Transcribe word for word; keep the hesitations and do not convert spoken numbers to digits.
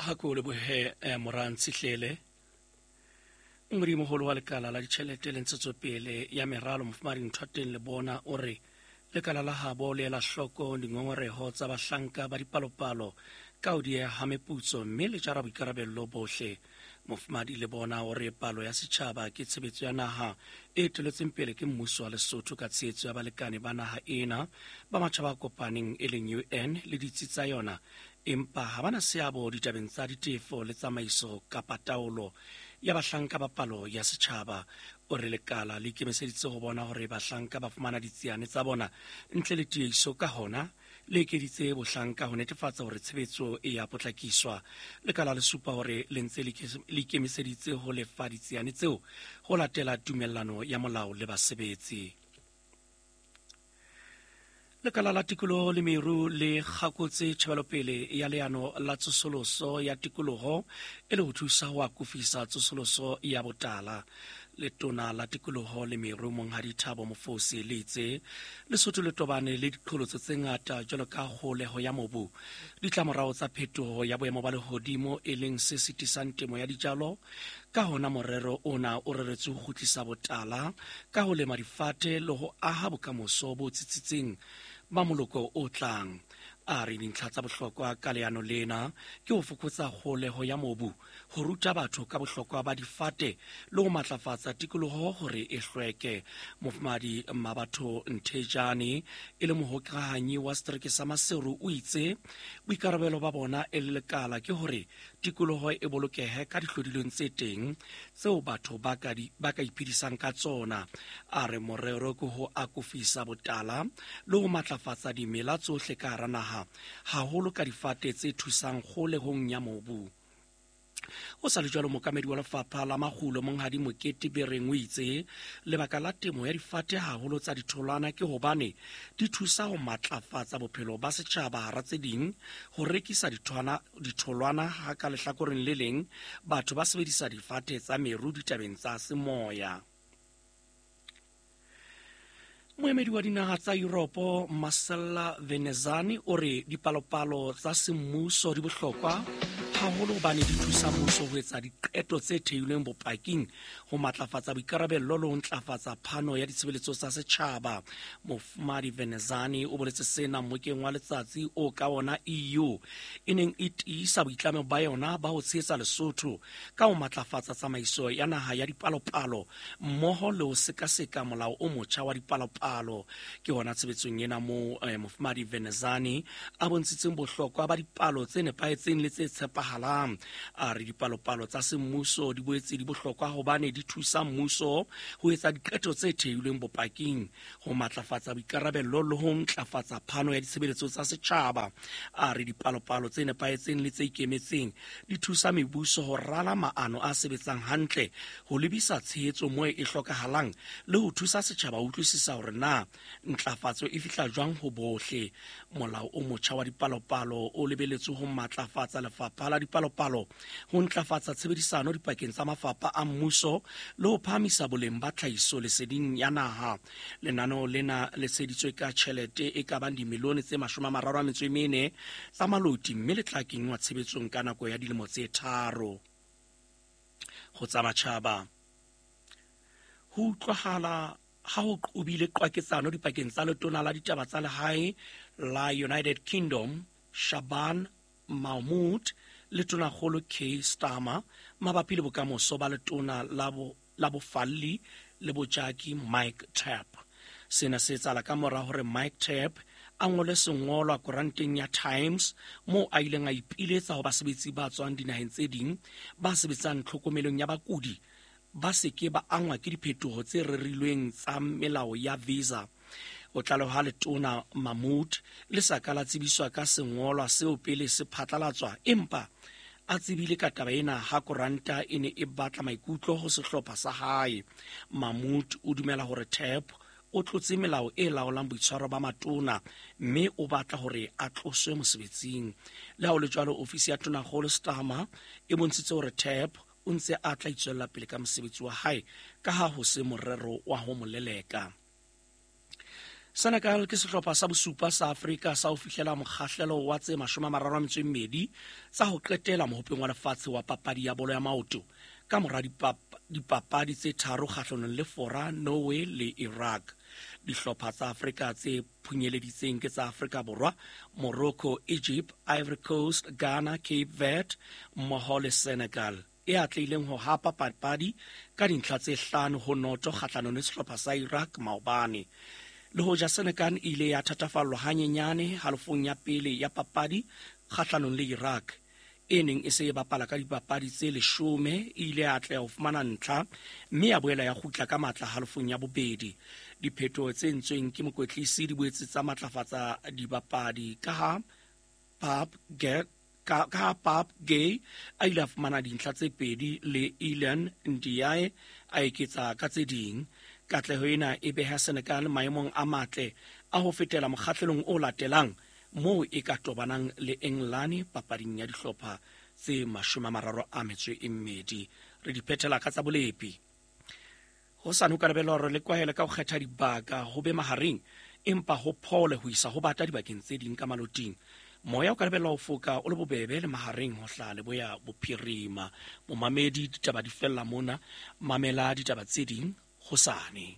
Ha ko lebohe eh, Morantshihlele. Modimoholo wa lekala la ditjhelete le ntshetsopele ya meralo Mofumahadi Nthateng Lebona o re lekala la habo le ela hloko dingongoreho tsa bahlanka ba dipalopalo ka ho dieha ha meputso mme le jara boikarabello bohle. Mofumahadi Lebona o re palo ya setjhaba ke tshebetso ya naha e eteletseng pele ke mmuso wa Lesotho ka tshehetso ya balekane ba naha ena ba matjhaba a kopaneng e leng U N le ditsi tsa yona, empa ha bana seabo ditabeng tsa ditefo le tsamaiso kapa taolo ya bahlanka ba palo ya setjhaba. O re lekala le ikemiseditse ho bona hore bahlanka ba fumana ditsiane tsa bona ntle le tiehiso, ka hona le ekeditse bohlanka ho netefatsa hore tshebetso e ya potlakiswa. Lekala le supa hore le ntse le ikemiseditse ho lefa ditsiane tseo ho latela tumellano ya molao le basebetsi. Lekala la tikoloho le meru le kgakotse tjhebelopele ya leano la tsosoloso ya tikoloho e le ho thusa ho akofisa tsosoloso ya botala. Letona la tikoloho le meru Monghadi Thabo Mofosi le itse Lesotho le tobane le diqholotso tse ngata jwalo ka kgoleho ya mobu, ditlamorao tsa phetoho ya boemo ba lehodimo e leng se sitisang temo ya dijalo. Ka hona morero ona o reretswe ho kgutlisa botala ka ho lema difate le ho aha bokamoso bo tsitsitseng ba moloko o tlang. A re dintlha tsa bohlokwa ka leano lena ke ho fokotsa kgoleho ya mobu, ho ruta batho ka bohlokwa ba difate le ho matlafatsa tikoloho hore e hlweke. Mofumahadi Mmabatho Nthejane e le mohokahanyi wa setereke sa Maseru o itse boikarabelo ba bona e le lekala ke hore tikoloho e bolokehe ka dihlodilweng tse teng tseo batho ba ka di, ba ka iphedisang ka tsona. A re morero ke ho akofisa botala le ho matlafatsa dimela tsohle ka hara naha, haholo ka difate tse thusang kgolehong ya mobu. Ho sa le jwalo, mookamedi wa lefapha la makgulo Monghadi Mokete Bereng o itse lebaka la temo ya difate haholo tsa ditholwana ke hobane di thusa ho matlafatsa bophelo ba setjhaba, hara tse ding ho rekisa dithwana ditholwana ha ka lehlakoreng le leng batho ba sebedisa difate tsa meru ditabeng tsa semoya. Moemedi wa dinaha tsa Europe Marcella Venezani o re dipalopalo tsa semmuso di bohlokwa haholo hobane di thusa mmuso ho etsa diqeto tse theilweng bopaking, ho matlafatsa boikarabello le ho ntlafatsa phano ya ditshebeletso tsa setjhaba. Mofumahadi Venezani o boletse sena mmokeng wa letsatsi o ka ona E U e neng e tiisa boitlamo ba yona ba ho tshehetsa Lesotho ka ho matlafatsa tsamaiso ya naha ya dipalopalo mmoho le ho sekaseka molao o motjha wa dipalopalo. Ke hona tshebetsong ena moo eh, Mofumahadi Venezani a bontshitseng bohlokwa ba dipalo tse nepahetseng le tse tshepahalang. A re dipalopalo tsa semmuso di boetse di bohlokwa hobane di thusa mmuso ho etsa diqeto tse theilweng bopaking, ho matlafatsa boikarabello le ho ntlafatsa phano ya ditshebeletso tsa setjhaba. A re dipalopalo tse nepahetseng le tse ikemetseng di thusa mebuso ho rala maano a sebetsang hantle, ho lebisa tshehetso moo e hlokahalang le ho thusa setjhaba ho utlwisisa hore na ntlafatso e fihla jwang ho bohle. Molao o motjha wa dipalopalo o lebeletswe ho matlafatsa lefapha la dipalopalo, ho ntlafatsa tshebedisano dipakeng tsa mafapha a mmuso le ho phahamisa boleng ba tlhahiso leseding ya naha. Lenaneo lena le tsheheditswe ka tjhelete e ka bang dimilione tse mashome a mararo a metso e mene tsa maloti mme le tla kenngwa tshebetsong ka nako ya dilemo tse tharo. Ho tsa matjhaba, ho utlwahala ha ho qobile qwaketsano dipakeng tsa letona la ditaba tsa lehae la United Kingdom Shaban Mahmood le tonakgolo Keir Starmer mabapi le bokamoso ba letona la bo la bofalli le bojaki Mike Tapp. Sena se etsahala ka mora hore Mike Tapp a ngole sengolwa koranteng ya Times moo a ileng a ipiletsa ho basebetsi ba tswang dinaheng tse ding ba sebetsang tlhokomelong ya bakudi ba se ke ba angwa ke diphetoho tse rerilweng tsa melao ya visa. O tlaleha letona Mahmood le sa ka la tsebiswa ka sengolwa seo pele se phatlalatswa, empa a tsebile ka taba ena ha koranta e ne e batla maikutlo ho sehlopha sa hae. Mahmood o dumela hore Tapp o tlotse melao e laolang boitshwaro ba matona mme o batla hore a tloswe mosebetsing. Le ha ho le jwalo, ofisi ya tonakgolo Starmer e bontshitse hore Tapp o ntse a tla itswella pele ka mosebetsi wa hae ka ha ho se morero wa ho mo leleka. Senegal ke sehlopha sa bosupa sa Afrika sa ho fihlela mokgahlelo wa tse mashome a mararo a metso e mmedi tsa ho qetela mohopeng wa lefatshe wa papadi ya bolo ya maoto ka mora dipapadi tse tharo kgahlanong le Fora, Norway le Iraq. Dihlopha tsa Afrika tse phunyeleditseng ke tsa Afrika Borwa, Morocco, Egypt, Ivory Coast, Ghana, Cape Verde mmoho le Senegal e atlehileng ho hapa papadi ka dintlha tse hlano ho noto kgahlanong le sehlopha sa Iraq maobane. Le hoja Senegal e ile ya thatafallwa hanyenyane halofong ya pele ya papadi kgahlanong le Iraq e neng e se e bapala ka dipapadi tse leshome, e ile ya atleha ho fumana ntlha mme ya boela ya kgutla ka matla halofong ya bobedi. Diphetoho tse entsweng ke mokwetlisi di boetse tsa matlafatsa dibapadi ka ha Pape ka ka Pape Gueye a ile a fumana dintlha tse pedi le Iliman Ndiaye a eketsa ka tse ding. Katleho ena e beha Senegal maemong a matle a ho fetela mokgahlelong o latelang moo e ka tobanang le Engelane papading ya dihlopha tse mashome a mararo a metso e mmedi. Re di phethela ka tsa bolepi. Hosane ho ka lebellwa hore le kwahele ka ho kgetha dibaka ho be mahareng, empa ho phole ho isa ho bata dibakeng tse ding ka maloting. Moya o ka lebellwa ho foka o le bobebe le mahareng ho hlaha leboya bophirima. Momamedi, ditaba di fella mona. Mamela ditaba tse ding hosane.